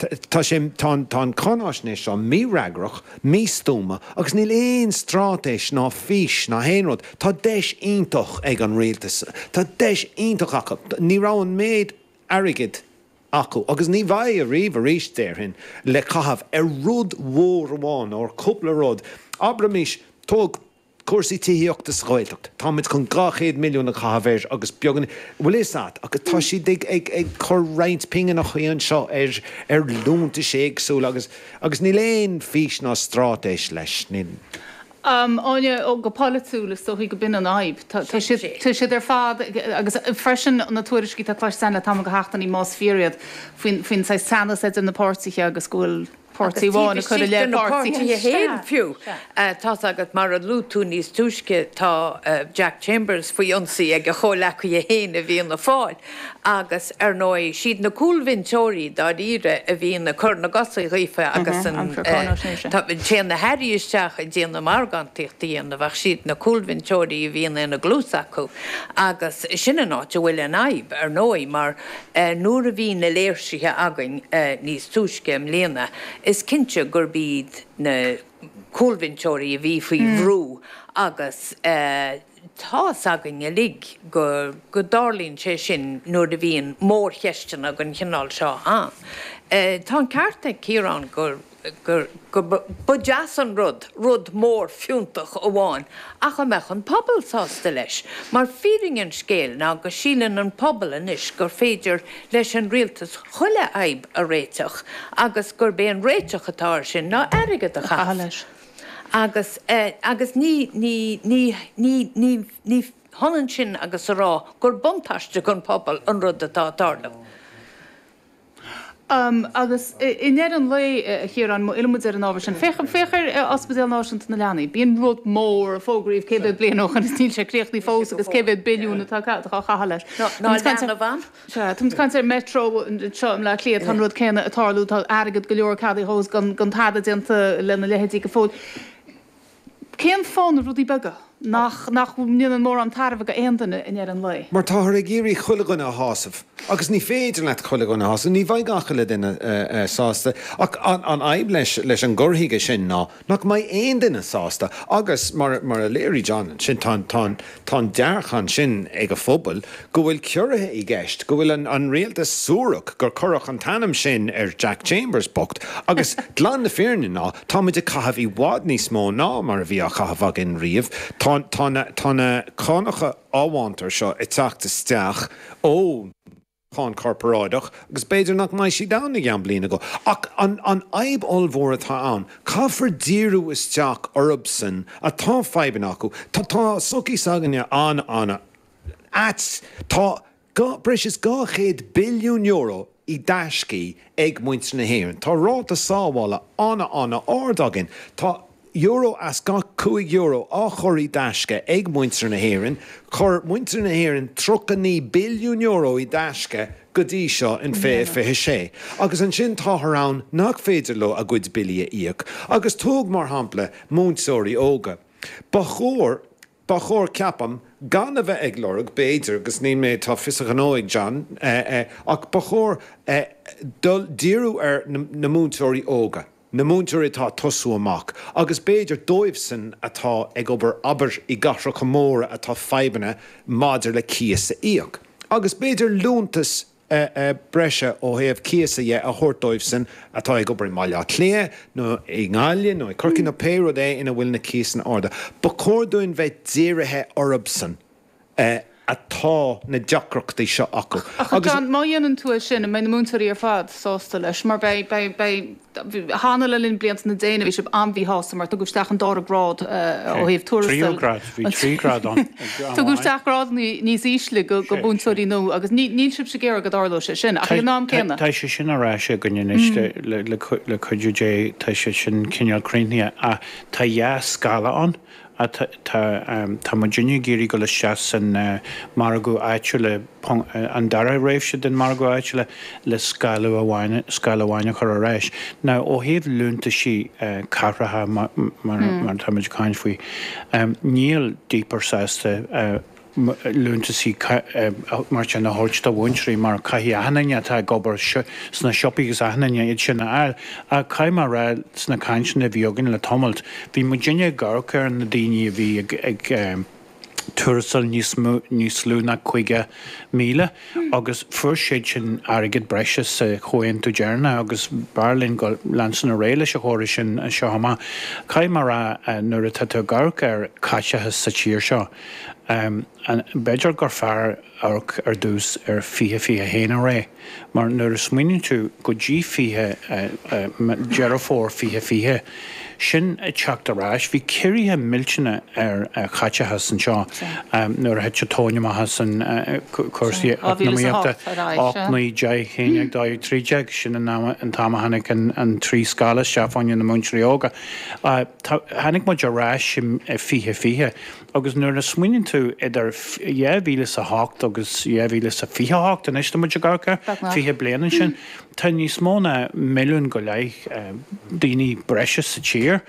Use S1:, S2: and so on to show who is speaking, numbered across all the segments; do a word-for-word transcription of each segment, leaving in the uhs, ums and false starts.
S1: Tá sé tá an cáinaisnéis seo mífhreagrach, místuama agus níl aon straitéis ná fís ná haon rud. Tá deis iontach ag an rialtas. Tá deis iontach acu. Ní raibh an méid airgid acu agus ní bheidh ariamh arís déarfainn le caitheamh ar rud mhór amháin nó ar cúpla rud. Abraimis tóg cúrsaí tithíochta sa Ghaeltacht. Táimid chun dhá chéad milliún a chaitheamh air agus beagán, bhfuil fhios a't, agus tá siad ag ag ag cur roinnt pingineacha anseo ar ar liúntais éagsúla agus agus níl aon fís ná straitéis leis. Níl.
S2: Áine, ó go polaitiúil is dóichí go b'in an fhadhb. Tá tá siad tá siad ar fad agus freisin na tuairiscí atá cloiste againn le tamall de sheachtainí más fíor iad faoin faoin saghas teannas idir na páirtithe agus go bhfuil
S3: Agus
S2: páirtí
S3: taobh
S2: amháin ag cur i
S3: istigh de
S2: leith
S3: na
S2: páirtí
S3: páirtithe
S2: Sea,
S3: féin fiú.
S2: sea.
S3: Tá's agat, mar a luaigh tú níos túisce, tá Jack Chambers faoi ionsaí ag a chomhleacaithe féin i bhFianna Fáil agus, ar ndóigh, siad na cúlbhinseoirí dáiríre a bhíonn ag cur na gcosa dhaofa agus
S2: Mhm,
S3: an,
S2: amharc ar cáinaisnéise.
S3: tá, téann na hairí isteach ag déanamh margántaíocht a dhéanamh ach siad na cúlbhinseoirí a bhíonn ina gcluas acu agus sin an áit a bhfuil an fhadhb, ar ndóigh, mar nuair a bhí na léirsithe againn níos túisce i mbliana, is cinnte gurb iad na cúlbhinseoirí a bhí faoi bhrú agus tá's againn uilig go go dtarlaíonn sé sin nuair a bhíonn mórcheisteanna den chineál seo ann. Tá an ceart ag Ciarán gur gur go ba deas an rud rud mór fiúntach amháin ach an mbeadh an pobal sásta leis? Mar fírinne an scéil ná go síleann an pobal anois gur féidir leis an rialtas chuile fhadhb a réiteach agus gurb é an réiteach atá air sin ná airgead a
S2: A chaitheamh
S3: chaitheamh.
S2: leis.
S3: Agus agus ní ní ní ní ní ní hionann sin agus a rá gur buntáiste don phobal an rud atá ag tarlú.
S2: Agus i ndeireadh an lae, a Chiaráin, má fhilleann muid ar an ábhar sin, féach féach ar Ospidéal Náisiúnta na Leanaí. Bíonn rud mór a fógraíodh cé mhéad bliain ó shin is níl sé críochnaithe fós agus cé mhéad billiún atá á chaitheamh leis.
S3: Ná
S2: Tá muid ag caint ar
S3: leanbh ann.
S2: Sea, tá muid ag caint ar Metro anseo i mBleá Cliath, tá an rud céanna ag tarlú, tá airgead go leor ceadaithe dhó gan gan tada déanta lena leithéidí go fóill. Cén fáth na rudaí beaga nach nach ndéanann mórán tairbhe go aon duine i ndeireadh an lae?
S1: Mar táthar ag iarraidh chuile dhuine a shásamh. Agus ní féidir leat chuile dhuine a shásamh, ní bheidh gach uile duine sásta. Ach an fhadhb leis leis an gcur chuige sin ná nach mbeidh aon duine sásta. Agus mar mar a léirigh John ansin, tá tá tá an dearcadh ansin ag an phobal go bhfuil ciorruithe i gceist, go bhfuil an an rialtas suarach gur cuireadh an t-ainm sin ar Jack Chambers bocht. Agus glan na fírinne ná táimid ag caitheamh i bhfad níos mó ná mar a bhí á chaitheamh againn riamh. Tá tá na tá na cánacha amhantair seo ag teacht isteach ón cháin chorparáideach agus b'fhéidir nach mbeidh siad ann i gceann bliana go. Ach an an fhadhb ollmhór atá ann, caithfear díriú isteach orthusan atá fadhbanna acu. Tá tá sochaí s'againne an-an-ait. Tá dhá breis is dhá chéad billiún euro i dtaiscí ag muintir na hÉireann. Tá ráta sábhála an-an-ard againn. Tá euro as gach cúig euro á chur i dtaisce ag muintir na hÉireann. Chuir muintir na hÉireann tríocha naoi billiún euro i dtaisce go dtí seo in fiche fiche sé. Agus ansin táthar ann nach féidir leo a gcuid billí a íoc. Agus tóg mar shampla múinteoirí óga. Ba chóir, ba chóir, ceapaim, gan a bheith ag lorg, b'fhéidir, agus níl mé, tá fios a ghnó ag John, ach ba chóir dul, díriú ar na múinteoirí óga. na múinteoirí atá ag tosú amach, agus b'fhéidir dóibhsan atá ag obair, abair, i gcathracha móra atá fadhbanna maidir le cíos a íoc. Agus b'fhéidir liúntas breise ó thaobh cíosa dhe a thabhairt dóibhsan atá ag obair i mBaile Átha Cliath nó i nGaillimh nó i Corcaigh nó pé rud é ina bhfuil na cíosanna arda. Ba chóir dúinn bheith dírithe orthubsan. atá na deacrachtaí seo acu.
S2: Ach
S1: Agus.
S2: John, má dhéanann tú é sin, an mbeidh na múinteoirí ar fad sásta leis? Mar beidh, beidh, beidh, cheana le linn blianta na déine bhí sibh an-mhíshásta mar tugadh isteach an dara grád ó thaobh
S4: Tríú
S2: tuarastail.
S4: grád, bhí trí ghrád ann ag am
S2: Tugadh
S4: amháin.
S2: isteach grádanna níos ísle go, go
S4: Sé, sé.
S2: mhúinteoirí nua agus ní, níl sibhse ag iarraidh go dtarlódh sé sin ach
S4: Tá,
S2: ag an am
S4: tá,
S2: céanna.
S4: tá sé sin ar ais againn anois le, le, le, le cuidiú Dé, tá sé sin cineál críochnaithe ach tá dhá scála ann. Tá muidinne ag iarraidh dul isteach san margadh áitiúil, an dara réimse den margadh áitiúil le scála amháin, scála amháin a chur ar ais. Now ó thaobh liúntaisí cathracha mar mar atáimid ag caint faoi, níl DPER sásta liúntasaí mar sin a thabhairt do mhúinteoirí mar caithfidh achan duine atá ag obair sna siopaí agus achan duine iad sin a fháil. Ach caithfidh mé a rá sna cainteanna a bhí againn le tamalt, bhí muidinne ag amharc ar na daoine a bhí ag ag tuarastal níos mó níos lú ná caoga míle agus fuair siad sin airgead breise sa chomhaontú deireanach agus b'fhearr linn go leanstan ar aghaidh leis an chóras sin anseo amach. Caithfidh mé a rá nuair atá tú ag amharc ar caiteachas sa tír seo, b'fhéidir gur fearr amharc ar dtús ar fiche fiche a haon ar aghaidh mar nuair a smaoiníonn tú go dtí fiche Deireadh Fómhair fiche fiche, sin ag teacht ar ais, bhí ciorruithe millteanna ar chaiteachas anseo nuair a thit an tóin amach as an cúrsaí eacnamaíochta, ocht, naoi, deich, haon déag, dó dhéag, trí déag, sin an t-am a tháinig an trí scála isteach fá choinne na múinteoirí óga. Tháinig muid ar ais i fiche fiche agus nuair a smaoiníonn tú idir dhá mhíle is a hocht agus dhá mhíle is a fiche a hocht, anois tá muid ag amharc ar fiche bliain ansin, tá níos mó ná milliún go leith daoine breise sa tír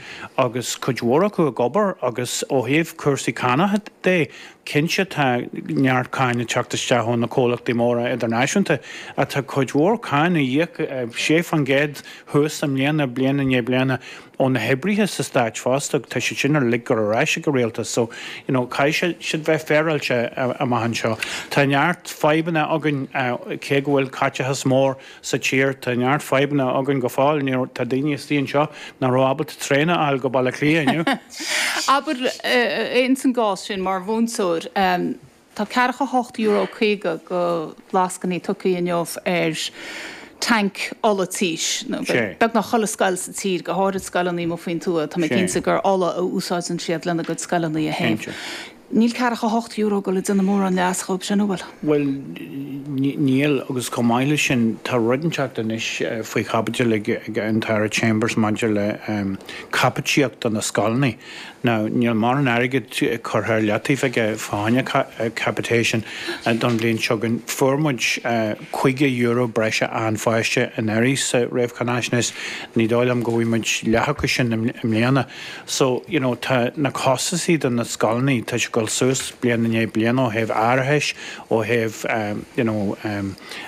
S4: agus cuid mhór acu ag obair agus ó thaobh cúrsaí cánach de, cinnte tá neart cáin ag teacht isteach ó na comhlachtaí móra idirnáisiúnta ach tá cuid mhór cáin á íoc, sé faoin gcéad thuas i mbliana, bliain i ndiaidh bliana, ó na hoibrithe sa stáit fosta, tá siad sin uilig ag dul ar ais ag an rialtas so you know caithfidh siad bheith féaráilte amach anseo. Tá neart fadhbanna againn cé go bhfuil caiteachas mór sa tír, tá neart fadhbanna againn go fóill, ní raibh, tá daoine istigh anseo nach raibh ábalta traein a fháil go Baile Átha Cliath inniu.
S2: Abair ins an gcás sin mar mhúinteoir, tá ceathracha hocht euro caoga go lascainí tugtha inniu ar tanc ola tís, nó beagnach chuile scoil sa tír, go háirid scoileanna amuigh faoin tuath, tá mé cinnte gur ola a úsáideann siad lena gcuid scoileanna a théamh. Níl ceathracha hocht euro ag dul ag déanamh mórán leas dhóibh sin, an bhfuil?
S4: Bhuel, níl, agus chomh maith leis sin, tá rud inteacht anois faoi chaibidil ag an tAire Chambers maidir le caipitíocht do na scoileanna. Now, níl mórán airgid curtha ar leataobh aige fá choinne capitation don bhliain seo chugainn. Fuair muid caoga euro breise achan pháiste anuraidh sa réamhcháinaisnéis. Ní dóigh liom go bhfaighidh muid leath acu sin i mbliana. So, you know, tá na costasaí do na scoileanna, tá sé ag dul suas bliain i ndiaidh bliana ó thaobh árachais, ó thaobh, you know,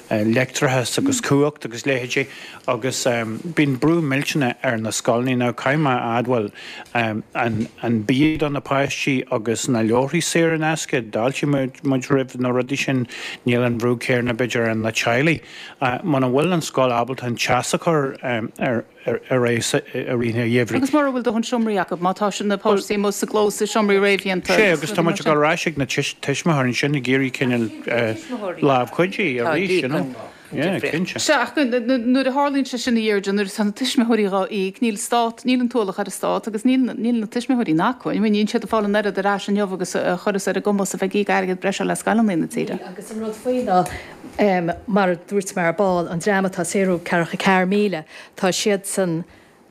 S4: leictreachas agus cumhacht agus leithéidí. Agus bíonn brú millteanach ar na scoileanna. Now, caithfidh mé a admháil, an an bia do na páistí agus na leabharthaí saor in aisce, d'fháiltigh muid roimh na rudaí sin. Níl an brú céanna, b'fhéidir, ar na teaghlaigh. Muna bhfuil an scoil ábalta an teas a chur ar ar aghaidh i rith an gheimhridh.
S2: Agus mura bhfuil dóthain seomraí acu, má tá na páistí amuigh sa gclós i seomraí réamhdhéanta.
S4: Sea, agus tá muid ag dul ar ais ag na tuismitheoirí ansin ag iarraidh cineál lámh chuidí arís, you know. Yeah, cinnte.
S2: Sea, ach nuair a tharlaíonn sé sin a Dheirdre, nuair atá na tuismitheoirí dhá íoc, níl stát, níl an t-ualach ar an stát agus níl, níl na tuismitheoirí in acmhainn. Níl siad ag fáil an oiread ar ais inniu agus a chuireas ar a gcumas a bheith ag íoc airgead breise le scoileanna na tíre.
S5: Níl, agus an rud faoi ná, mar a dúirt mé ar ball, an dream atá ag saothrú ceathracha ceathair míle, tá siadsan,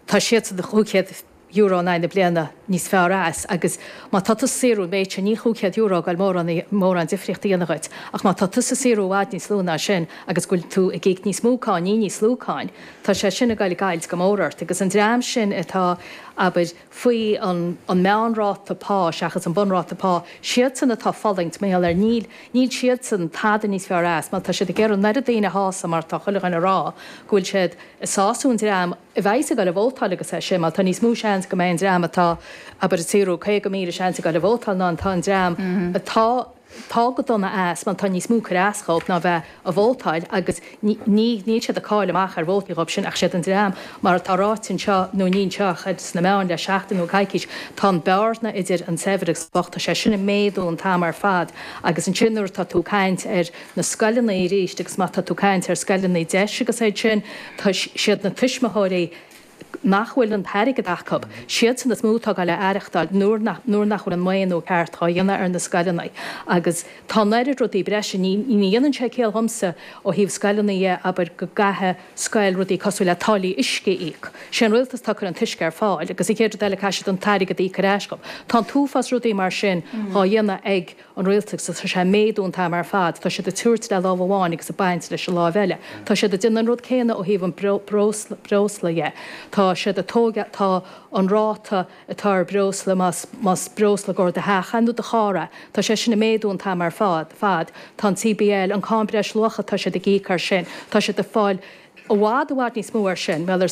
S5: tá siadsan chúig chéad euro in aghaidh na bliana níos fearr as agus má tá tusa ag saothrú an méid sin, níl chúig chéad euro ag goil mórán, mórán difríocht a dhéanamh dhuit. Ach má tá tusa ag saothrú i bhfad níos lú ná sin agus go bhfuil tú ag íoc níos mó cáin, ní níos lú cáin, tá sé sin ag goil ag goilt go mór ort. Agus an dream sin atá, abair, faoi an, an meánráta pá seachas an bunráta pá, siadsan atá ag fulaingt mar gheall air, níl, níl siadsan tada níos fearr as mar tá siad ag iarraidh an oiread daoine a shásamh mar tá chuile dhuine ag rá go bhfuil siad ag sású an dream a bheas ag dul ag vótáil agus é sin mar tá níos mó seans go mbeidh an dream atá, abair, ag saothrú caoga míle seans ag dul ag vótáil ná atá an dream atá atá go dona as mar tá níos mó cur as dhóibh ná bheith ag vótáil agus ní ní níl siad ag cailleadh amach ar vótaí dhóibh sin ach siad an dream mar atá ráite anseo nó ní anseo ach sna meáin le seachtain nó coicís tá an bearna idir an saibhir agus an bocht tá sé sin ag méadú an t-am ar fad agus ansin nuair atá tú ag caint ar na scoileanna arís agus má tá tú ag caint ar scoileanna deis agus iad sin, tá siad na tuismitheoirí nach bhfuil an t-airgead acu, siadsan is mó atá ag goil a aireachtáil nuair nach nuair nach bhfuil an maoiniú ceart á dhéanamh ar na scoileanna agus tá an oiread rudaí breise, ní ní dhéanann sé ciall dhomsa ó thaobh scoileanna dhe, abair go gcaithfidh scoil rudaí cosúil le táillí uisce a íoc. Sé an rialtas atá ag cur an t-uisce ar fáil agus an chéad rud eile caithfidh siad an t-airgead a íoc ar ais dhóibh. Tá an t-uafás rudaí mar sin dhá dhéanamh ag an rialtas agus tá sé ag méadú an t-am ar fad. Tá siad ag tabhairt le lámh amháin agus ag baint leis an láimh eile. Tá siad ag déanamh an rud céanna ó thaobh an breosla dhe. Tá siad ag tógáil, tá an ráta atá ar breosla, más, más breosla i gcomhair do theach é nó do charr é, tá sé sin ag méadú an t-am ar fad, fad. Tá an CBL, an Cáin Breisluacha, tá siad ag íoc air sin, tá siad ag fáil i bhfad, i bhfad níos mó air sin, mar